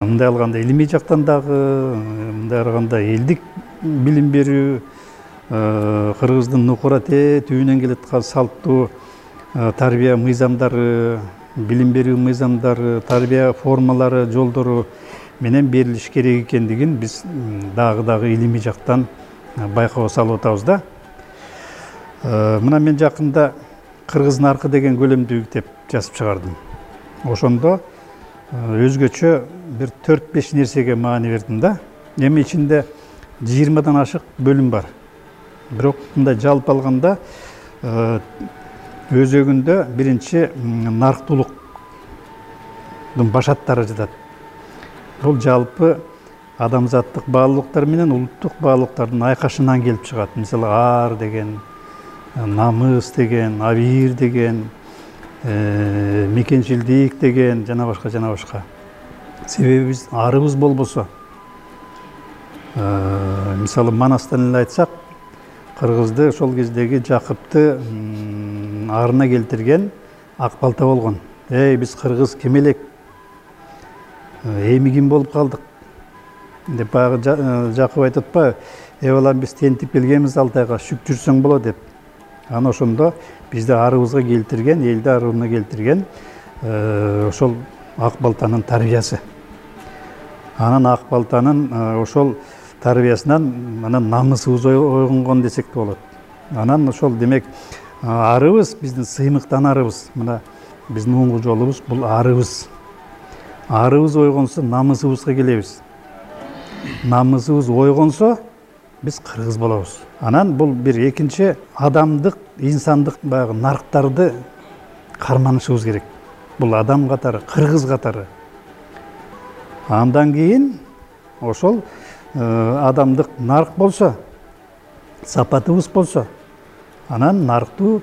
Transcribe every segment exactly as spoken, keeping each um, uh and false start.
Мындай алганда илимий жактан дагы, мындай алганда элдик билим берүү, кыргыздын нукурате түбүнөн келаткан салттуу тарбия мыйзамдары, билим берүү мыйзамдары, тарбия формалары, жолдору менен берилиш керек экендигин биз дагы дагы илимий жактан байкоо салып атабыз да. Мына мен жакында Кыргыз наркы деген көлөмдүү китеп жазып чыгардым. Ошондо өзгөчө бир төрт беш нерсеге маани бердим да. Эми ичинде жыйырмадан ашык бөлүм бар. Бирок мындай жалпы алганда өзөгүндө биринчи нарктуулуктун башаттары жатат. Бул жалпы адамзаттык баалуулуктар менен улуттук баалуулуктардын айкашынан келип чыгат. Мисалы ар деген, намыс деген, абийир деген, мекенчилдик деген, жана башка жана башка. Себеби биз арыбыз болбосо, мисалы Манастан эле айтсак, кыргызды ошол кездеги Жакыпты арына келтирген ак балта болгон. Эй, биз кыргыз ким элек? Эми ким болуп калдык? Деп баягы Жакып айтып атпайбы? Э балам, биз тентип келгенбиз Алтайга, шүк жүрсөң болот деп. Аны ошондо бизди арыбызга келтирген, элди арыбына келтирген ошол ак балтанын тарбиясы. Анан ак балтанын ошол тарбиясынан анан намысыбыз ойгонгон десек де болот. Анан ошол демек арыбыз биздин сыймыктан арыбыз. Мына биздин оңгу жолубуз бул арыбыз. Арыбыз ойгонсо намысыбызга келебиз. Намысыбыз ойгонсо биз кыргыз болобуз. Анан бул бир экинчи адамдык, инсандык баягы нарктарды карманышыбыз керек. Бул адам катары, кыргыз катары. Андан кийин ошол адамдык нарк болсо, сапатыбыз болсо, анан нарктуу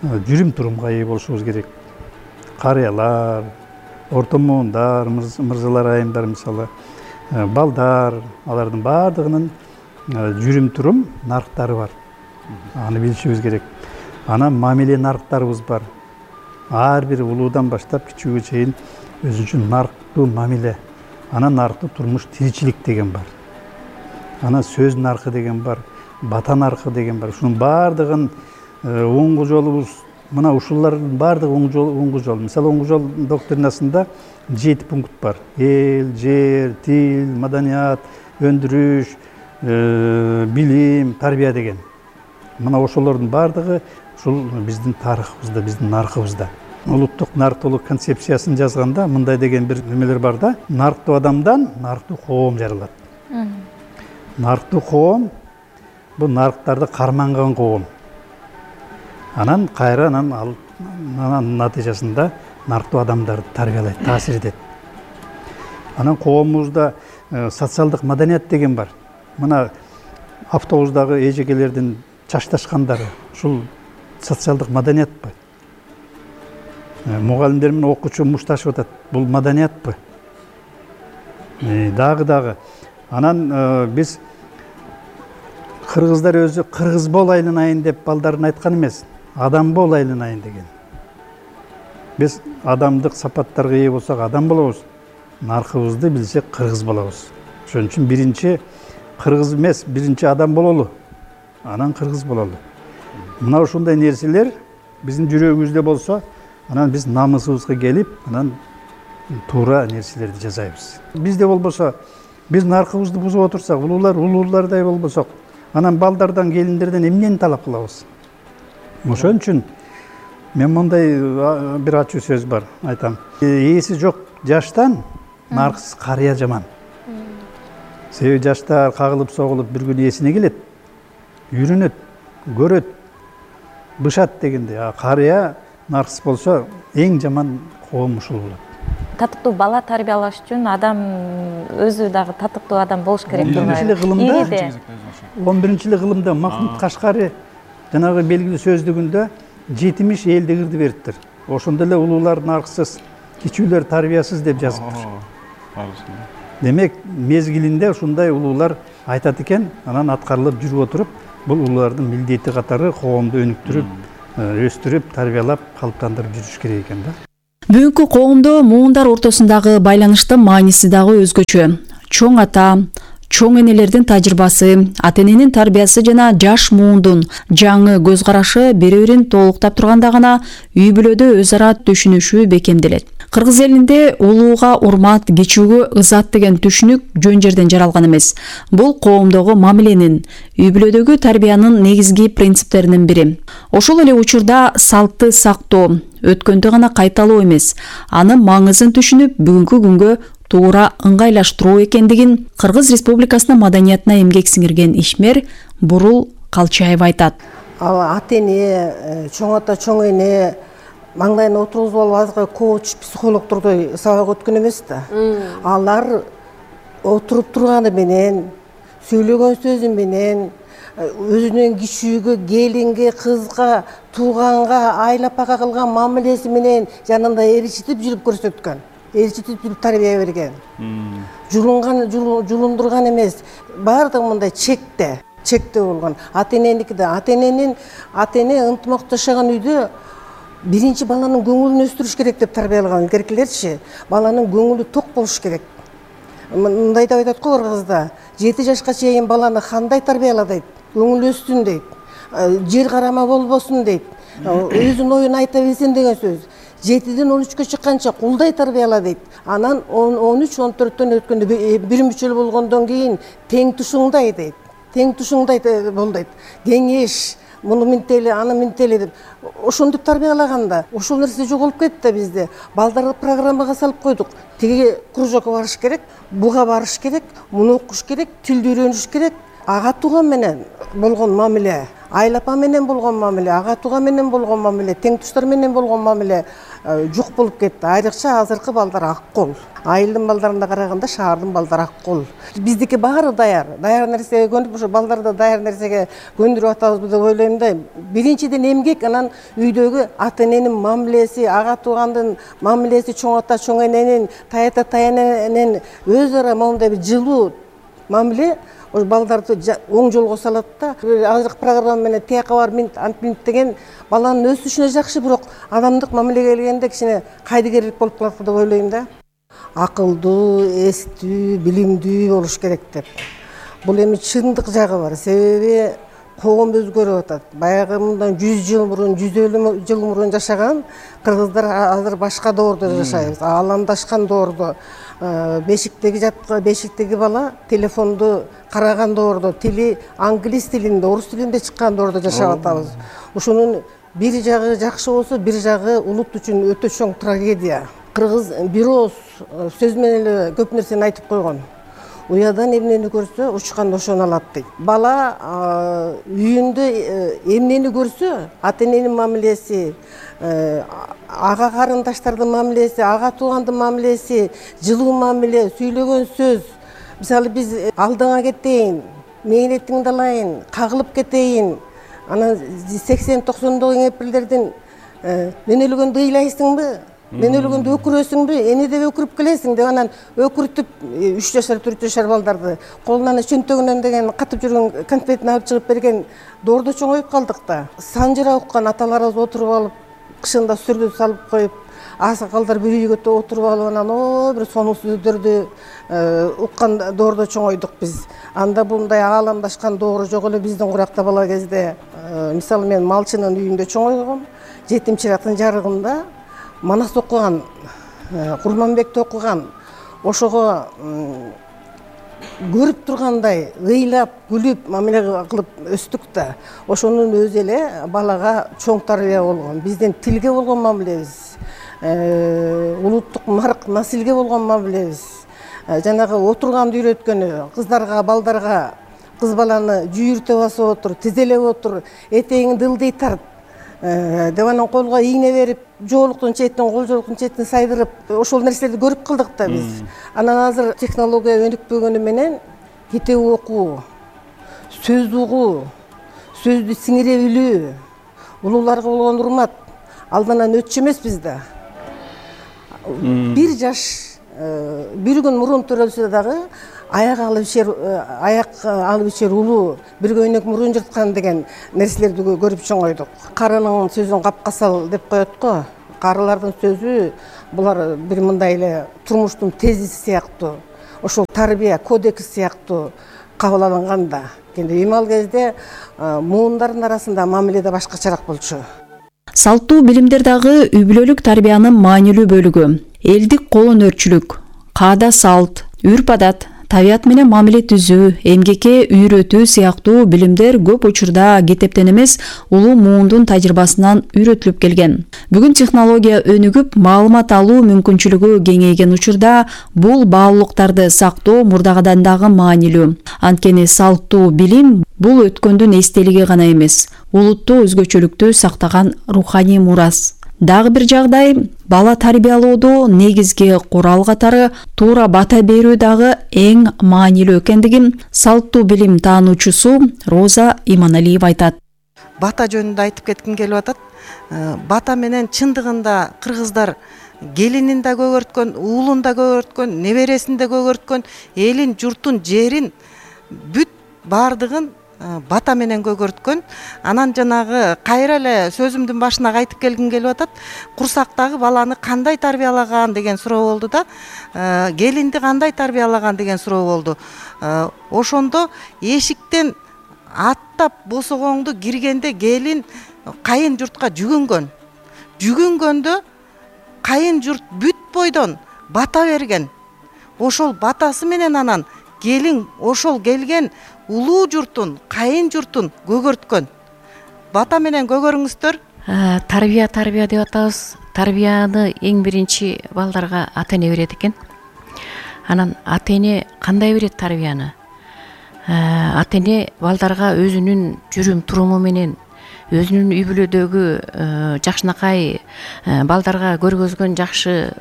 жүрүм турумга ээ болушубуз керек. Карыялар, орто моундар, мырзалар, айымдар, мисалы, балдар, алардын баардыгынын жүрүм турум нарктары бар. Аны билишибиз керек. Анан мамиле нарктарыбыз бар. Ар бир улуудан баштап кичүүгө чейин өзүнчө нарктуу мамиле. Анан нарктуу турмуш тиричилик деген бар. Анан сөз наркы деген бар, бата наркы деген бар. Ушунун баардыгын оңгу жолубуз, мына ушулардын баардыгы оңгу жол. Мисалы, оңгу жол доктринасында жети пункт бар. Эл, жер, тил, маданият, өндүрүш, билим, тарбия деген. Мына ошолордун баардыгы ушул биздин тарыхыбызда, биздин наркыбызда. Улуттук нарктуулук концепциясын жазганда мындай деген бир немелер бар да. Нарктуу адамдан нарктуу коом жаралат. Нарктуу коом бул нарктарды карманган коом. Анан кайра анан ал анан натыйжасында нарктуу адамдарды тарбиялайт, таасир этет. Анан коомубузда социалдык маданият деген бар. Мына автобустагы эжекелердин чачташкандары, ушул социалдык маданиятпы? Мугалимдер менен окуучу мушташып атат. Бул маданиятпы? Дагы дагы. Анан биз кыргыздар өзү кыргыз бол айланайын деп балдарын айткан эмес, адам бол айланайын деген. Биз адамдык сапаттарга ээ болсок адам болобуз, наркыбызды билсек кыргыз болобуз. Ошон үчүн биринчи кыргыз эмес, биринчи адам бололу, анан кыргыз бололу. Мына ушундай нерселер биздин жүрөгүбүздө болсо, анан биз намысыбызга келип, анан туура нерселерди жасайбыз. Бизде болбосо, биз наркыбызды бузуп отурсак, улуулар улуулардай болбосок, анан балдардан, келиндерден эмнени талап кылабыз? Ошон үчүн мен мындай бир ачуу сөз бар, айтам. Ээси жок жаштан нарксыз карыя жаман. Себеби жаштар кагылып согулуп бир күн эсине келет, үйрөнөт, көрөт, бышат дегенде. А карыя нарксыз болсо эң жаман коом ушул болот. Татыктуу бала тарбиялаш үчүн адам өзү дагы татыктуу адам болуш керек деп ойлойм. он биринчи эле кылымда Махмуд Кашкари жанагы белгилүү сөздүгүндө жетимиш элди кырды бериптир. Ошондо эле улуулар нарксыз, кичүүлөр тарбиясыз деп жазыптыр. Демек, мезгилинде ушундай улуулар айтат экен, анан аткарылып жүрүп отуруп, бул улуулардын милдети катары коомду өнүктүрүп, өстүрүп, тарбиялап, калыптандырып жүрүш керек экен да. Бүгүнкү коомдо муундар ортосундагы байланыштын мааниси дагы өзгөчө. Чоң ата, чоң энелердин тажрыйбасы, ата эненин тарбиясы жана жаш муундун жаңы көз карашы бири-бирин толуктап турганда гана үй бүлөдө өз ара түшүнүшүү бекемделет. Кыргыз элинде улууга урмат, кичүүгө ызат деген түшүнүк жөн жерден жаралган эмес. Бул коомдогу мамиленин, үй бүлөдөгү тарбиянын негизги принциптеринин бири. Ошол эле учурда салтты сактоо, өткөндү гана кайталоо эмес, анын маңызын түшүнүп, бүгүнкү күнгө туура ыңгайлаштыруу экендигин Кыргыз Республикасынын маданиятына эмгек сиңирген ишмер Бурул Калчаева айтат. Ал ата эне, чоң ата, чоң эне маңдайына отургузуп алып азыр коуч, психологдордой сабак өткөн эмес да. Алар отуруп турганы менен, сүйлөгөн сөзү менен, өзүнүн кичүүгө, келинге, кызга, тууганга, айлапага кылган мамилеси менен жанында ээрчитип жүрүп көрсөткөн. Ээрчитип жүрүп тарбия берген. Жулунган, жулундурган эмес. Баардыгы мындай чекте, чекте болгон. Ата эненики да, ата эненин, ата эне ынтымактуу жашаган үйдө биринчи баланын көңүлүн өстүрүш керек деп тарбиялаган илгеркилерчи. Баланын көңүлү ток болуш керек. Мындай деп айтат го Кыргызда, жети жашка чейин баланы кандай тарбияла дейт, көңүл өссүн дейт, жер карама болбосун дейт, өзүнүн оюн айта билсин деген сөз. жетиден он үчкө чыкканча кулдай тарбияла дейт. Анан он үч он төрттөн өткөндө бир мүчөл болгондон кийин тең тушуңдай дейт. Тең тушуңдай бол дейт. Кеңеш, муну минтели, аны минтели деп ошондуп тарбиялаганда, ошол нерсе жоголуп кетти да бизде. Балдарды программага салып койдук. Тиги кружокко барыш керек, буга барыш керек, муну окуш керек, тилди үйрөнүш керек. Ага тууган менен болгон мамиле, айлапа менен болгон мамиле, ага тууган менен болгон мамиле, тең туштар менен болгон мамиле жок болуп кетти. Айрыкча азыркы балдар ак кол. Айылдын балдарына караганда шаардын балдары ак кол. Биздики баары даяр. Даяр нерсеге көнүп, ошо балдарды даяр нерсеге көндүрүп атабызбы деп ойлойм да. Биринчиден эмгек, анан үйдөгү ата эненин мамилеси, ага туугандын мамилеси, чоң ата, чоң эненин, тайата, таяненин өз ара моундай бир жылуу мамиле балдарды оң жолго салат да. Азыркы программа менен тияка бар минт, антминт деген баланын өсүшүнө жакшы, бирок адамдык мамилеге келгенде кичине кайдыгерлик болуп калат деп ойлойм да. Акылдуу, эстүү, билимдүү болуш керек деп. Бул эми чындык жагы бар. Себеби коом өзгөрүп атат. Баягы мындан жүз жыл мурун, жүз элүү жыл мурун жашаган кыргыздар азыр башка доордо жашайбыз. Аламдашкан доордо. Бешиктеги жаткан, бешиктеги бала телефонду караган доордо, тили англис тилинде, орус тилинде чыккан доордо жашап атабыз. Ошонун бир жагы жакшы болсо, бир жагы улут үчүн өтө чоң трагедия. Кыргыз бир ооз сөз менен эле көп нерсени айтып койгон. Уядан эмнени көрсө, учканда ошону алат дейт. Бала үйүндө эмнени көрсө, ата эненин мамилеси, ага карындаштардын мамилеси, ага туугандын мамилеси, жылуу мамиле, сүйлөгөн сөз. Мисалы биз алдыңа кетейин, мээнетиңди алайын, кагылып кетейин. Анан сексен токсондогу кемпирлердин мен өлгөндө ыйлайсыңбы? Мен өлгөндө өкүрөсүңбү? Эне деп өкүрүп келесиң деп анан өкүртүп үч жашар, төрт жашар балдарды колунан чөнтөгүнөн деген катып жүргөн конфетин алып чыгып берген доордо чоңоюп калдык да. Санжыра уккан аталарыбыз отуруп алып, кышында сүргүн салып коюп, аксакалдар бир үйгө отуруп алып анан о бир сонун сөздөрдү уккан доордо чоңойдук биз. Анда мындай ааламдашкан доору жок эле биздин куракта бала кезде. Мисалы мен малчынын үйүндө чоңойгом. Жетим чырактын жарыгында Манас окуган, Курманбекти окуган, ошого көрүп тургандай ыйлап, күлүп, мамиле кылып өстүк да. Ошонун өзү эле балага чоң тарбия болгон. Биздин тилге болгон мамилебиз, улуттук марк, насилге болгон мамилебиз, жанагы отурганды үйрөткөнү, кыздарга, балдарга кыз баланы жүйүртө басып отур, тизелеп отур, этегиңди ылдый тарт деп анан колго ийне берип, жоолуктун четин, кол жоолуктун четин сайдырып, ошол нерселерди көрүп калдык да биз. Анан азыр технология өнүкпөгөнү менен китеп окуу, сөз угуу, сөздү сиңире билүү, улууларга болгон урмат алданан өтчү эмес бизде. Бир жаш, бир күн мурун төрөлсө дагы аяк алып ичер, аяк алып ичер улуу бир көйнөк мурун жырткан деген нерселерди көрүп чоңойдук. Карынын сөзүн капка сал деп коет го. Карылардын сөзү булар бир мындай эле турмуштун тезиси сыяктуу, ошол тарбия кодекси сыяктуу кабыл алынган да. Эми ал кезде муундардын арасында мамиле да башкачараак болчу. Салттуу билимдер дагы үй бүлөлүк тарбиянын маанилүү бөлүгү. Элдик кол өнөрчүлүк, каада салт, үрп адат, табият менен мамиле түзүү, эмгекке үйрөтүү сыяктуу билимдер көп учурда китептен эмес, улуу муундун тажрыйбасынан үйрөтүлүп келген. Бүгүн технология өнүгүп, маалымат алуу мүмкүнчүлүгү кеңейген учурда бул баалуулуктарды сактоо мурдагыдан дагы маанилүү. Анткени салттуу билим бул өткөндүн эстелиги гана эмес, улуттуу өзгөчөлүктү сактаган руханий мурас. Дагы бир жагдай, бала тарбиялоодо негизги курал катары туура бата берүү дагы эң маанилүү экендигин салттуу билим таануучусу Роза Иманалиева айтат. Бата жөнүндө айтып кетким келип атат. Бата менен чындыгында кыргыздар келинин да көгөрткөн, уулун да көгөрткөн, небересин да көгөрткөн, элин, журтун, жерин бүт баардыгын бата менен көгөрткөн. Анан жанагы кайра эле сөзүмдүн башына кайтып келгим келип атат. Курсактагы баланы кандай тарбиялаган деген суроо болду да, келинди кандай тарбиялаган деген суроо болду. Ошондо эшиктен аттап босогоңду киргенде келин кайын журтка жүгүнгөн. Жүгүнгөндө кайын журт бүт бойдон бата берген. Ошол батасы менен анан келин ошол келген улуу журтун, кайын журтун көгөрткөн. Бата менен көгөрүңүздөр. Тарбия, тарбия деп атабыз. Тарбияны эң биринчи балдарга ата-эне берет экен. Анан ата-эне кандай берет тарбияны? Ата-эне балдарга өзүнүн жүрүм туруму менен, өзүнүн үй бүлөдөгү жакшынакай балдарга көргөзгөн жакшы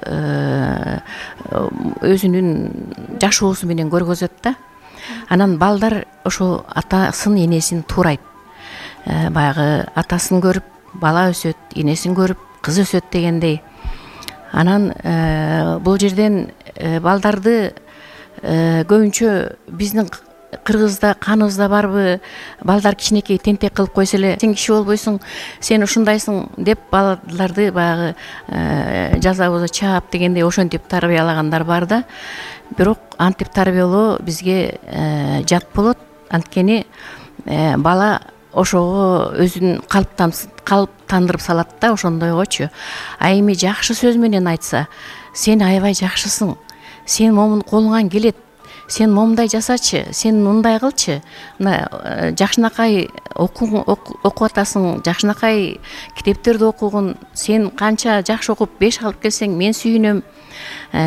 өзүнүн жашоосу менен көргөзөт да. Анан балдар ошо атасын, энесин туурайт. Баягы атасын көрүп бала өсөт, энесин көрүп кыз өсөт дегендей. Анан бул жерден балдарды көбүнчө биздин кыргызда каныбызда барбы, балдар кичинекей тентек кылып койсо эле, сен киши болбойсуң, сен ушундайсың деп балдарды баягы жаза болсо чаап дегендей ошентип тарбиялагандар бар да. Бирок антип тарбиялоо бизге жат болот. Анткени бала ошого өзүн калыптандырып салат да, ошондойгочу. А эми жакшы сөз менен айтса, сен аябай жакшысың, сен момун колуңан келет, сен момундай жасачы, сен мындай кылчы, мына жакшынакай окуп атасың, жакшынакай китептерди окугун, сен канча жакшы окуп беш алып келсең мен сүйүнөм,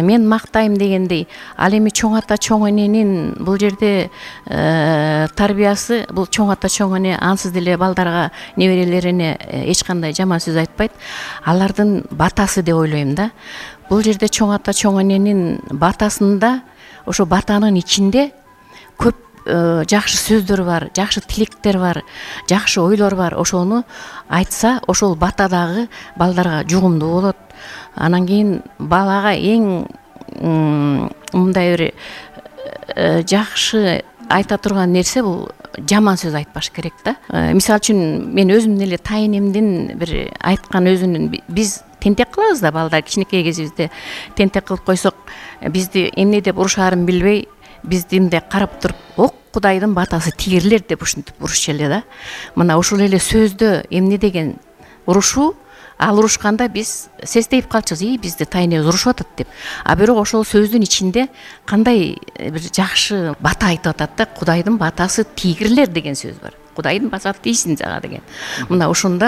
мен мактайм дегендей. Ал эми чоң ата, чоң эненин бул жерде тарбиясы, бул чоң ата, чоң эне ансыз деле балдарга, неберелерине эч кандай жаман сөз айтпайт. Алардын батасы деп ойлойм да. Бул жерде чоң ата, чоң эненин батасында, ошо батанын ичинде көп жакшы сөздөр бар, жакшы тилектер бар, жакшы ойлор бар. Ошону айтса, ошол бата дагы балдарга жугумдуу болот. Анан кийин балага эң мындай бир жакшы айта турган нерсе бул жаман сөз айтпаш керек да. Мисалы үчүн мен өзүмдүн эле тайынемдин бир айткан өзүнүн, биз тентек кылабыз да, балдар кичинекей кезибизде тентек кылып койсок, бизди эмне деп урушаарын билбей, бизди мындай карап туруп, ок Кудайдын батасы тигирлер деп ушинтип урушчу эле да. Мына ушул эле сөздө эмне деген урушуу, ал урушканда биз сестейип калчубуз, и бизди тайнебиз урушуп атат деп. А бирок ошол сөздүн ичинде кандай бир жакшы бата айтып атат да, Кудайдын батасы тигирлер деген сөз бар. Кудайдын батасы тийсин жага деген. Мына ошондо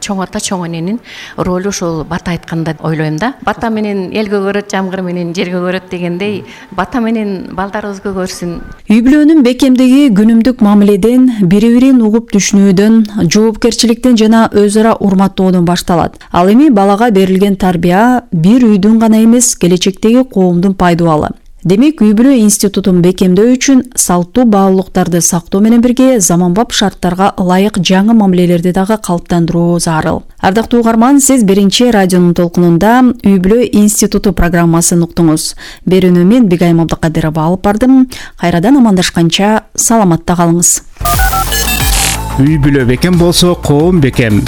чоң ата, чоң эненин ролу ошол бата айтканда ойлойм да. Бата менен эл көгөрөт, жамгыр менен жер көгөрөт дегендей, бата менен балдарыбыз көгөрсүн. Үй бүлөнүн бекемдиги күнүмдүк мамиледен, бири-бирин угуп түшүнүүдөн, жоопкерчиликтен жана өз ара урматтоодон башталат. Ал эми балага берилген тарбия бир үйдүн гана эмес, келечектеги коомдун пайдубалы. Демек, үй бүлө институтун бекемдөө үчүн салттуу баалуулуктарды сактоо менен бирге заманбап шарттарга ылайык жаңы мамилелерди дагы калыптандыруу зарыл. Ардактуу угарман, сиз биринчи радионун толкунунда Үй бүлө институту программасын уктуңуз. Берүүнү мен Бигайым Абдыкадырова алып бардым. Кайрадан амандашканча саламатта калыңыз. Үй бүлө бекем болсо, коом бекем.